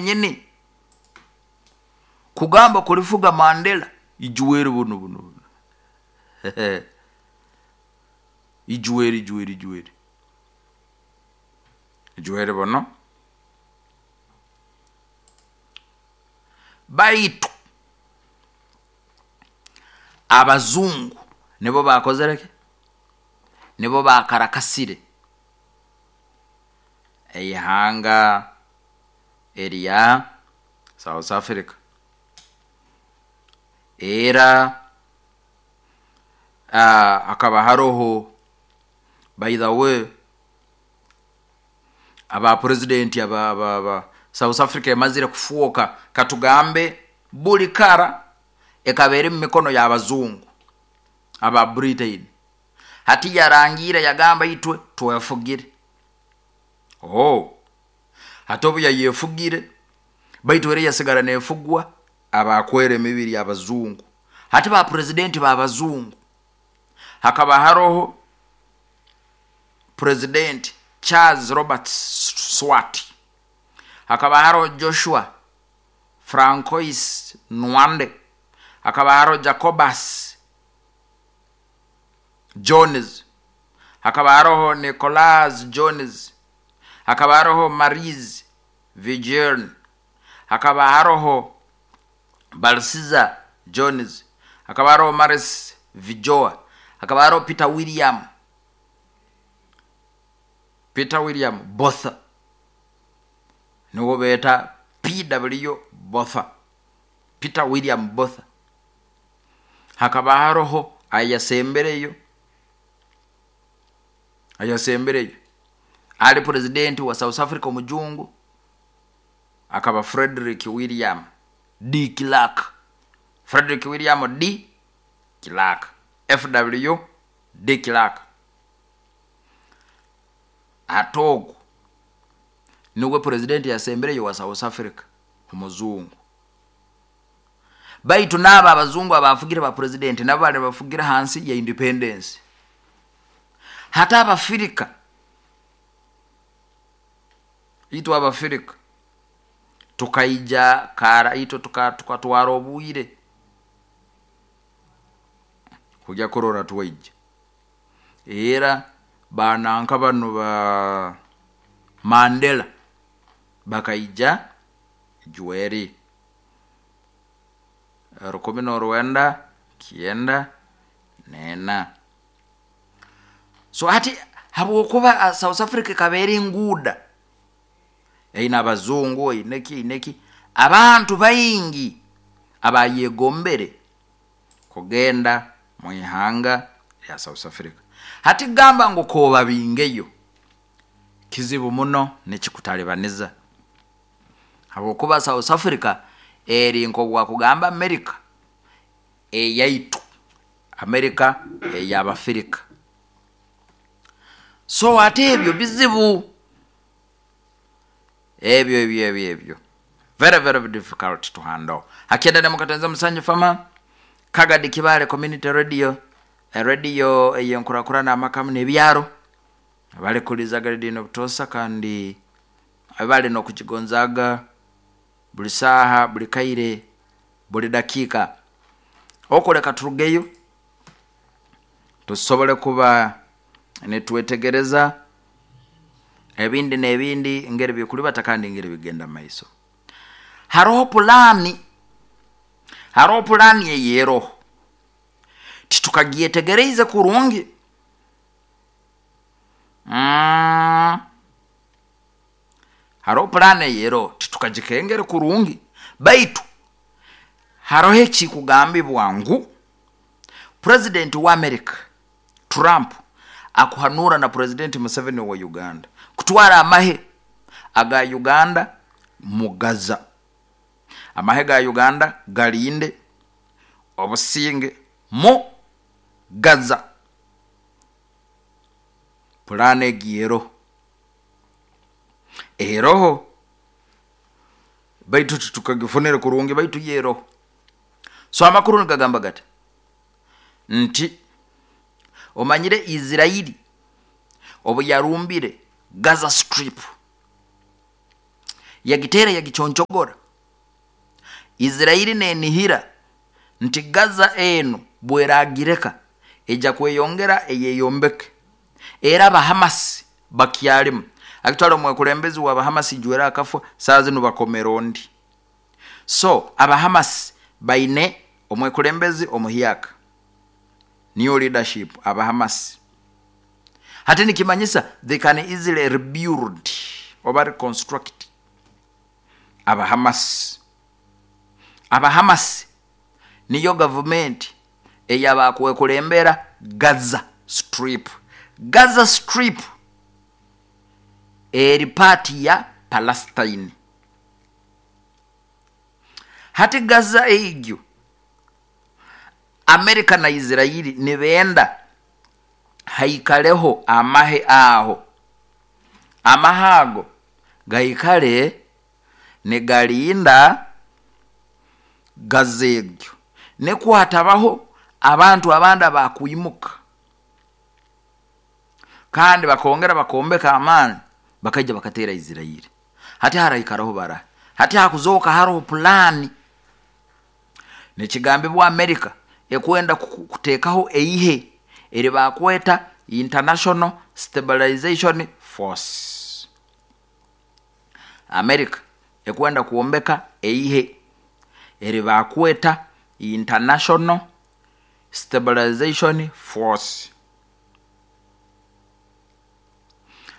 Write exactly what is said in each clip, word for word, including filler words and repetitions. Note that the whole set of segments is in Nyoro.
Yenyini kugamba kulifuga Mandela ijuweri buno buno buno ijuweri ijuweri ijuweri ijuweri buno. Baitu abazungu nibo bakozereki, nibo bakarakasire eihanga erya South Africa. Era hakaba haroho, by the way, aba president aba, aba, aba South Africa emazire kufuuka, katugambe buli kara ekaba eri mu mikono y'abazungu aba Britain. Hati yarangiire yagamba itwe twefugire. Oh, hati obu yayefugire, baitu era yasigara nefugwa abakwera emibiri abazungu. Hati ba presidenti b'abazungu, hakaba haroho President Charles Robert Swart, hakaba haroho Joshua Francois Nwande, hakaba haroho Jacobus Jones, hakaba haroho Nicholas Jones, hakaba haroho Maries Viljoen, hakaba haroho Balsiza Jones, hakaba haroho Maris Vijoa, hakaba haroho Peter William Peter William Botha, niwo beeta P W Botha, Peter William Botha. Hakaba haroho ayasembereyo ayasembereyo ali president wa South Africa omujungu, akaba Frederick William D Clark, Frederick William D Clark, F W D Clark. Atogo niwe president yasembereyo wa South Africa omuzungu. Baitu n'abo abazungu abafugire ba president nabo bali bafugira hansi ya independence. Hata abafirika, itwe abafirika tukaija kara itwe tukatwara obwire kujya kurora twaija. Era bananka bano ba Mandela bakaija juweri rukumi n'orwenda kyenda nena. So hati habwokuba South Africa ekabeera enguuda eine abazungu eineki eineki, abantu baingi abayegombere kugenda mu ihanga lya South Africa. Hati gamba ngu koba bingeyo kizibu muno nekikutalibaniza, habwokuba South Africa eri nk'obwakugamba America eyaitu, America ey'abafirika. So ate ebyo bizibu ebyo ebyo ebyo ebyo very very difficult to handle. Hakienda ne mukatenza Musanyu Fama Kagadi Kibale Community Radio, radio eyenkurakurana amakamu n'ebyaro bali kulizaga radio obutosa kandi bali n'okukigonzaga buli saaha buli kaire buli dakiika. Okuleka turugeyo tusobole kuba nitwetegereza ebindi n'ebindi ngeri bikulibata kandi ngeri bigenda maiso. Haroho pulani, haroho pulani eyeroho titukagyetegereze kurungi. Mm. Haroho pulani eyeroho titukagikengere kurungi, baitu haroho ekikugambibwa ngu President wa America Trump akuhanura na President Museveni wa Uganda kutwara amahe aga Uganda mu Gaza. Amahe ga Uganda galinde obusinge mu Gaza. Pulani egiero eroho, baitu tukagifunire kurungi, baitu yero. So amakuru nigagamba gati nti omanyire Israeli obu yarumbire Gaza Strip Yagiteera, yagiconchogora. Israeli nenihira nti Gaza enu bweragireka ejja kweyongera eyeyombeke. Era Abahamasi bakyalimu akitwala omwekulembezi wa Abahamasi jwera akafwa, saa zinu bakomera ondi. So Abahamasi baine omwekulembezi omuhyaka, new leadership. Abahamasi hati nikimanyisa they can easily rebuild oba reconstruct. Abahamasi Abahamasi niyo gavumenti eyabakwekulembera Gaza Strip. Gaza Strip eri part ya Palestine. Hati Gaza egyo, Amerika na Israeli nibenda haikaleho amahe aho. Amahe ago gaikale nigalinda Gaza egyo, nekwatabaho abantu abandi abakwimuka kandi bakongera bakombeka amaani, bakaija bakateera Israeli. Hati haraikaraho bara hati hakuzoka haroho pulani. Nikigambibwa Amerika ekwenda kuteekaho eihe eri bakweta International Stabilization Force. Amerika ekwenda kwombeka eihe eri bakweta International Stabilization Force.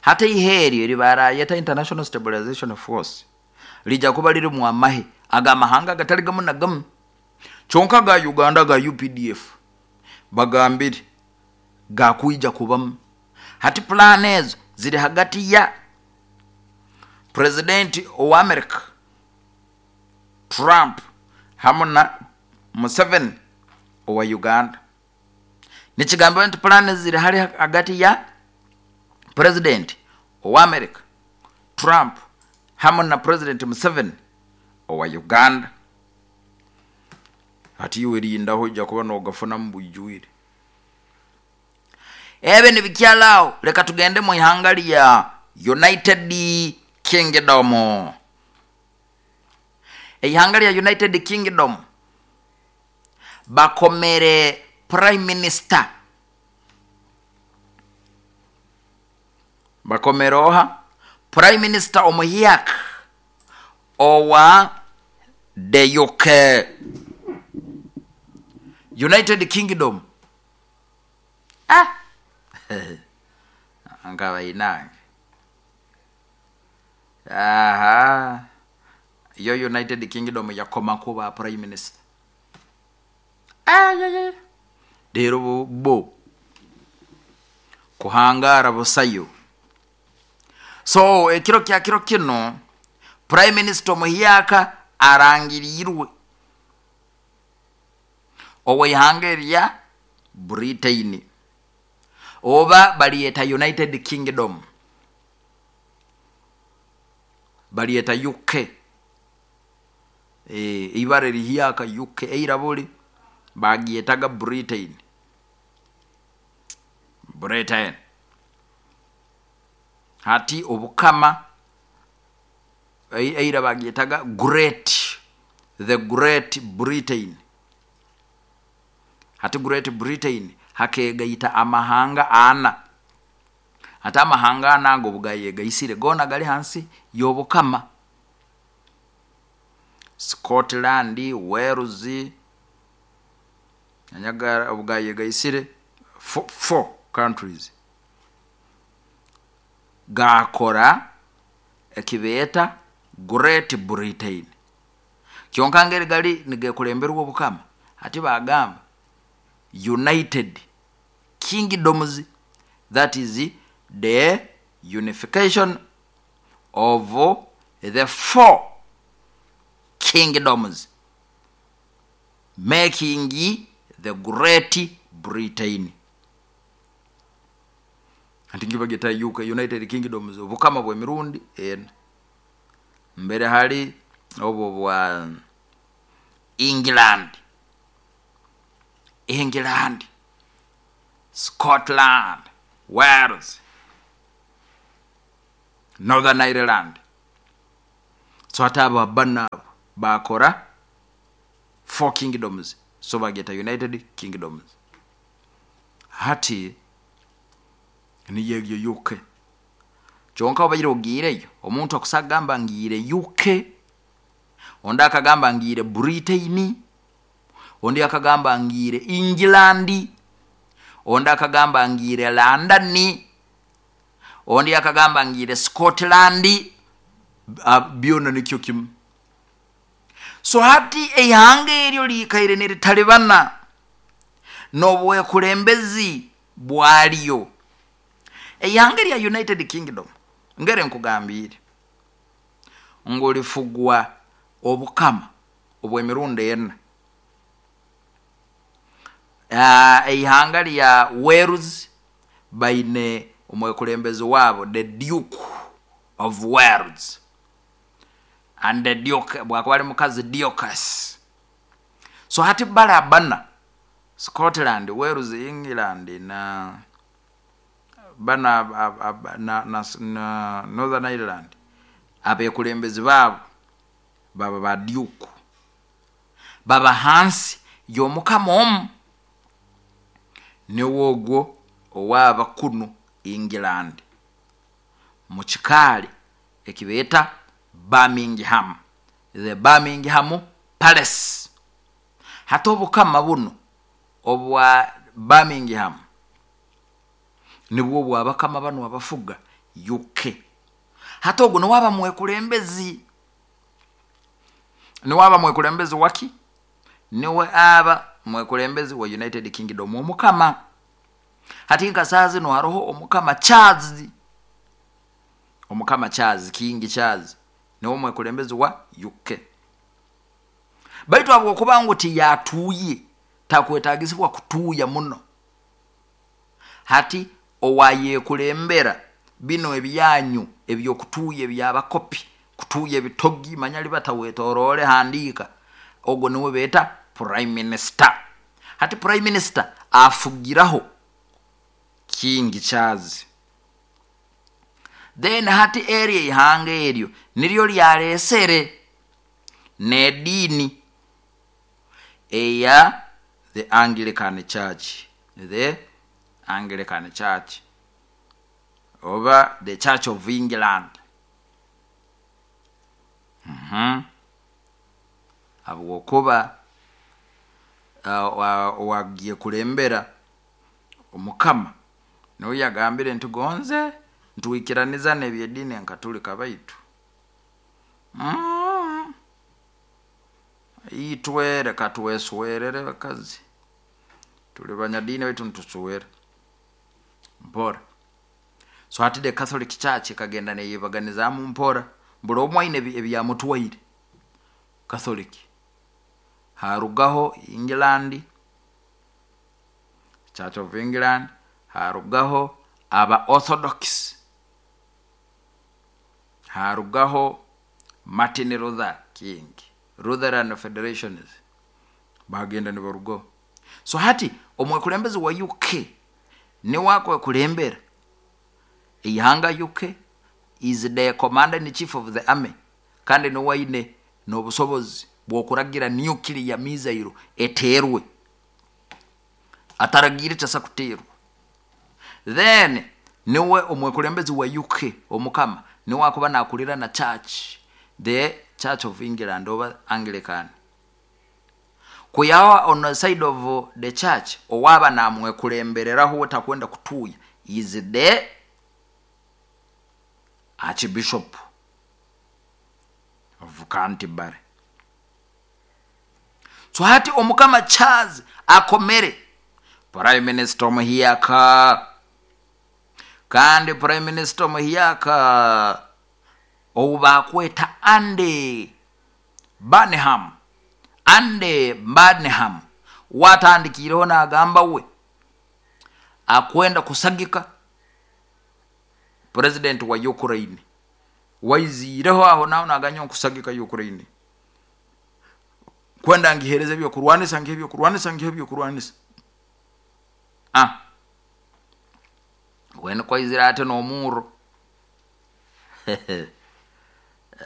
Hata ihe eryo eri barayeta International Stabilization Force lija kuba lirimu amahe agamahanga agatali gamu na gamu, kyonka ga Uganda ga U P D F bagambire gakwija kubamu. Hati plan ezo ziri hagati ya president owa America Trump hamu na Museveni owa Uganda. Nikigambibwa nti plan ziri hali hagati ya president owa America Trump hamu na President Museveni owa Uganda. Hati iwe rindaho, ojja kuba nogafunamu bwijwire. Ebe nibikyalaawo. Leka tugende mu ihanga lya United Kingdom. Ihanga lya United Kingdom bakomere prime minister. Bakomere oha? Prime minister omuhyaka owa the U K, United Kingdom. Ah, nkabainange aha, yo United Kingdom yakoma kuba prime minister. Ah, yeah, yeah. Rero bo, bo kuhangara busayo. So ekiro kya kiro kino prime minister omuhyaka arangirirwe oweihanga erya Britain, oba baliyeta United Kingdom, baliyeta U K. e, ibara erihyaka U K. Eira buli bagiyetaga Britain. Britain hati obukama eira bagiyetaga great the Great Britain. Hati Great Britain hakegaita amahanga ana. Hati amahanga ana ago bugayegaisire gona gali hansi y'obukama: Scotland, Wales, anyaga obugayegaisire four, four countries gakora ekibeeta Great Britain. Kyonka ngeri gali nigekulemberwa obukama, hati bagamba United Kingdoms. That is the unification of the four kingdoms making the Great Britain. Anti ngibageta U K, United Kingdoms, obukama bw'emirundi ena. Mbere hali obwo bwa England, England, Scotland, Wales, Northern Ireland. So hati abo bana abo bakora four kingdoms, so bageta United Kingdoms. Hati niyo egyo U K. Kyonka obaire ogiireyo, omuntu akusagamba ngiire U K, ondi akagamba ngiire Britain, ondi akagamba ngiire England, ondi akagamba ngiire London, ondi akagamba ngiire Scotland, byona nikyo kimu. So hati eihanga eryo liikaire niritalibana n'obwekulembezi bwalyo. Eihanga erya United Kingdom, ngere nkugambiire ngu lifugwa obukama obw'emirundi ena. Eihanga lya Wales baine omwekulembezi waabo, the Duke of Wales, and the Duke bwakuba ali mukazi, Duchess. So hati bala bana, Scotland, Wales, England na bana ab, ab, na, na, na Northern Ireland, abekulembezi baabo baba ba duke, baba hansi y'omukama omu, niwe ogwo owaaba kunu England mu kikaali ekibeeta Birmingham, the Birmingham Palace. Hati obukama buno obwa Birmingham nibwo bwabakama bano abafuga U K. Hati ogwo niwaba mwekulembezi, niwaba mwekulembezi waki? Niwe aba mwekulembezi wa United Kingdom, omukama. Hati nka saa zino haroho omukama Charles, omukama Charles, King Charles, niwe mwekulembezi wa U K. Baitu habwokuba ngu tiyatuuye, takwetagisibwa kutuuya muno. Hati owayekulembera bino ebyanyu ebyokutuuya, ebyabakopi kutuuya ebitogi, manya libatawetoroole handiika, ogwo niwe beeta prime minister. Hati prime minister afugiraho King Charles. Then hati eryo eihanga eryo niryo lyaleesere n'ediini eya the Anglican Church, the Anglican Church oba the Church of England. mm-hmm. Habwokuba uh, wagiye kulembera omukama niwe yagambire nti gonze ntwikiraniza n'ebyediini enkatulika, baitu mm. itwe reka tweswerere bakazi, tuli banyadiini baitu ntuswere mpora. So hati the Catholic Church ekagenda neyebaganizaamu mpora, buli omwe aine ebyamutwaire. Catholic harugaho England, Church of England, harugaho aba Orthodox, harugaho Martin Luther King, Lutheran Federations, bagenda nibarugaho. So hati omwekulembezi wa U K niwe akwekulembera eihanga U K, is the commander in chief of the army, kandi niwe aine n'obusobozi bw'okuragira nuclear missile eteerwe, ataragiire tasa kuteerwa. Then niwe omwekulembezi wa U K, omukama, niwe akuba nakulira na church, the Church of England oba Anglican. Kuyawa on the side of the church, owaba namwekulembereraho takwenda kutuuya is the Archbishop of Canterbury. So hati omukama Charles akomere prime minister omuhiyaka, kandi prime minister omuhiyaka ou bakweta Andy Burnham. Andy Burnham watandikireho nagamba we akwenda kusagika president wa Ukraine. Waiziireho aho naho naganya nkusagika Ukraine, kwenda ngihereza ebyokurwanisa, ngihe ebyokurwanisa, ngihe ebyokurwanisa. Ah, wene kwaizira ate n'omurro.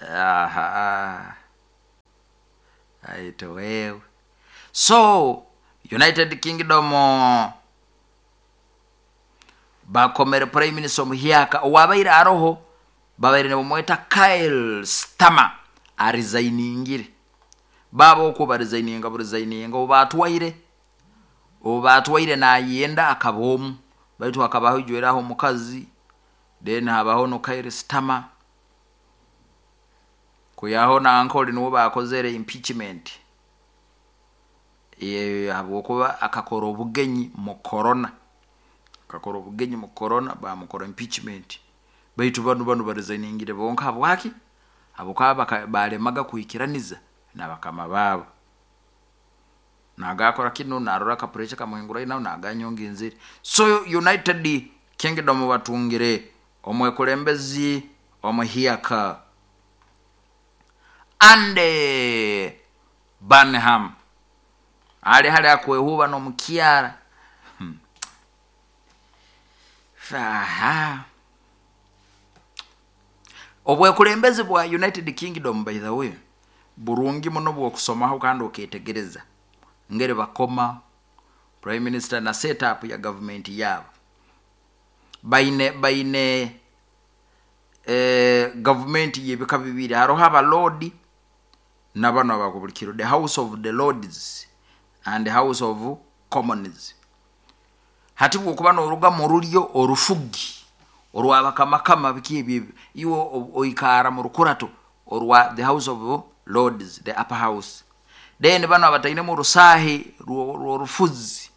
Aha. Aito wewe. So United Kingdom bakomere Prime Minister omuhyaka owabaire aroho, babaire nibamweta Keir Starmer, aresigningire. Baba okwo baresigninga buresigninga, obu batwaire obu batwaire nayenda akaba omu, baitu hakabaho ijweraho omukazi, then habaho no Keir Starmer kuyaho nankoli niwo bakozere impeachment habwokuba akakora obugenyi mu corona, akakora obugenyi mu corona bamukora impeachment. Baitu banu banu baresigningire bonka. Habwaki? Habwokuba balemaga kuikiraniza nabakama baabo. Nagakora kinu narora ka pressure kamuhingura naho naganyonga enzire. So United Kingdom batungire omwekulembezi omuhyaka Andy Burnham, ali hali akwehuba n'omukyara. hmm. Aha. Obwekulembezi bwa United Kingdom, by the way, burungi muno bwokusomaho kandi oketegereza ngeri bakoma prime minister na setup ya government yabo. Baine baine eh, government yebika bibiri, haroho abalodi nabano abakubulikiro, the House of the Lords and the House of Commons. Hati bwokuba noruga mu rulyo orufugi orwabakamakama biki ebyo, iwe oikara mu rukurato orwa the House of Lords, the upper house. Then bano abatainemu orusahi rw'orufuzi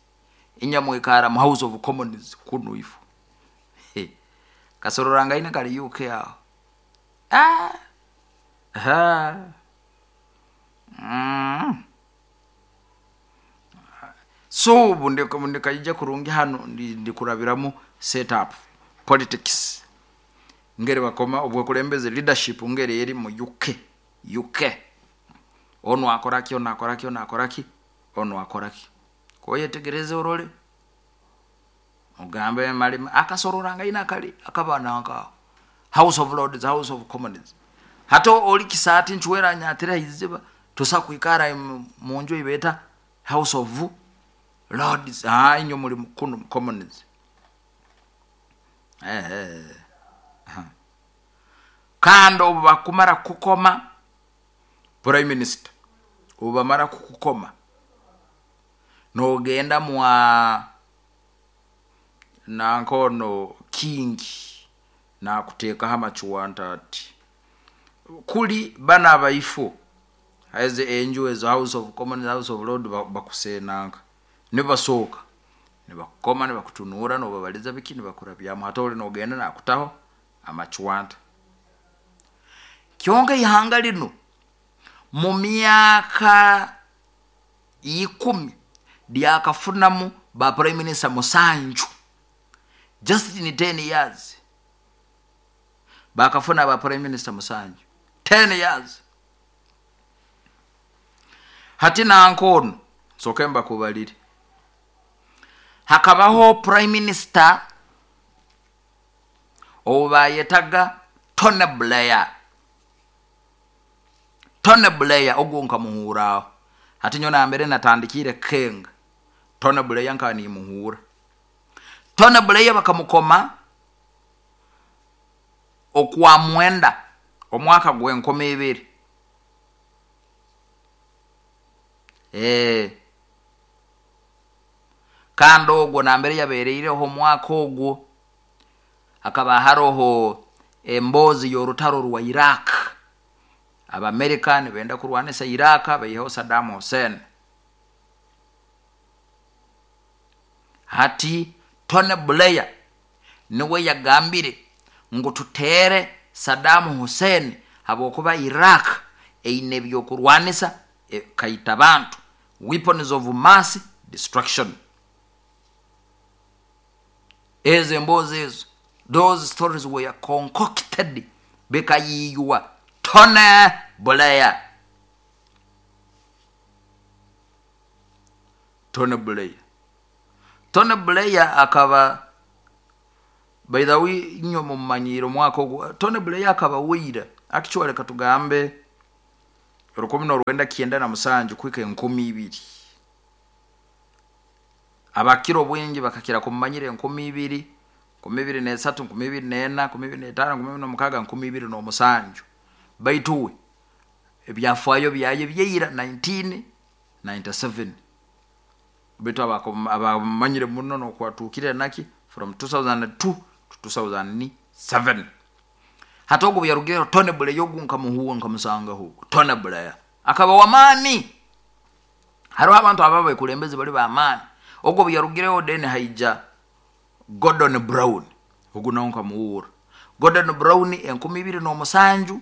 inyamwikara mu House of Commons kuno ifo. Kasororangaine kali U K aho. Ah. Ha. Mm. So ndikaija kurungi hano ndikurabiramu setup politics ngeri bakoma obwekulembeze leadership ngeri eri mu U K. U K ono akoraki, ono akoraki, ono akoraki, ono akoraki. Koyetegereze orole ogambe malima akasororanga kali akabana nka House of Lords, House of Commons. Hato oli kisati nchwera nyatira iziba tosa kuikara munju ibeta House of Lords. Ah, inyo muri kuno Commons. Eh eh. Kando bakumara kukoma Prime Minister, ubamara kukukoma nogenda mwa nankono king na kuteka hamachuwanta ati kuli bana abaifu haize enju ezo House of Commons, House of Lords bakusenanga nibasoka nibakoma nibakutunura nobabaliza biki nibakurabyamu hatole nogenda nakutaho amachuwanta. Kyonka ihanga lino mu myaka ikumi lyakafunamu ba Prime Minister musanju, just in ten years bakafuna ba Prime Minister musanju, ten years. Hati nankono sokemba kubaliri hakabaho Prime Minister obayetaga Tony Blair. Tony Blair ogwo nkamuhuraho. Hati nyona mbere natandikire kenga Tony Blair nkani muhura. Tony Blair bakamukoma okwa mwenda omwaka gwenkoma ebiri. Eh kando ogwo nambere yabereireho omwaka ogwo akaba haroho embozi y'orutaro rwa Iraq. Abamerika nibenda kurwanisa Iraq baiho Saddam Hussein. Hati Tony Blair niwe yagambire ngu tutere Saddam Hussein habwokuba Iraq eine byokurwanisa e, kaita bantu, weapons of mass destruction. Ezo embozi ezo, those stories were concocted bikayiywa Tony Blair. Tony Blair Tony Blair akaba, by the way, inyo mumanyiro mwaka ogwo Tony Blair akaba weira Actually, katugambe rukumi n'orwenda kyenda na musanju kuhika enkumi ibiri. Abakira obwingi bakakira kumumanyira enkumi ibiri, nkumi ibiri n'esatu, nkumi ibiri n'ena, nkumi ibiri n'etaano, nkumi ibiri n'omukaaga, nkumi ibiri n'omusanju. Baitu we ebyafaayo byaye byaira nineteen ninety-seven, baitu abamanyire muno nokwatuukire naki from two thousand two to two thousand seven. Hati ogwo bweyarugireho, Tony Blair, ogu nkamuhuwa, nkamusangaho. Tony Blair akaba wamaani. Hariho abantu aba abekulembezi bali bamaani. Ogwo bweyarugireho, then haija Gordon Brown. Ogu nawe nkamuhuura. Gordon Brown, enkumi ibiri n'omusanju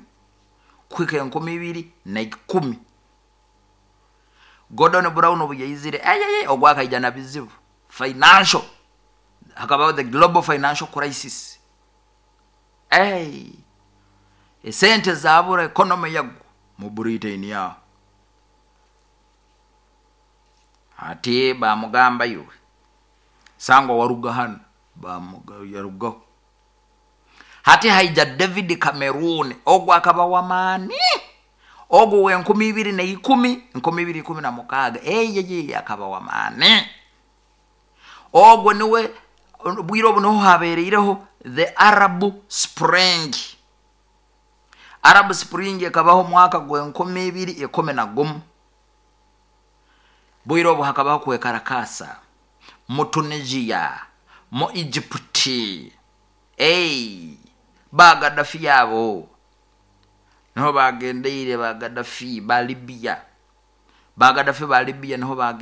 kuhika enkumi ibiri naikumi. Gordon Brown obu yaizire, ayeye, ogwo akaija na bizibu financial. Hakabaho the global financial crisis. Hey, esente zabura, economy yagwa mu Britain yaho. Ati bamugamba, "Iwe sangwa waruga hano." Yarugaho. Hati haija David Cameroon. Ogwo akaba wamaani. Ogwo wenkumi ibiri naikumi, nkumi ibiri ikumi na mukaaga. Eyeye, akaba wamaani. Ogwo niwe bwire obu niho habereireho the Arab Spring. Arab Spring ekabaho omwaka gwenkumi ibiri ikumi na gumu. Bwire obu hakabaho kwekarakasa mu Tunisia, mu Egypt. Ey, ba Gadafi yabo niho bagendeire. Ba Gadafi ba Libya, ba Gadafi ba Libya niho.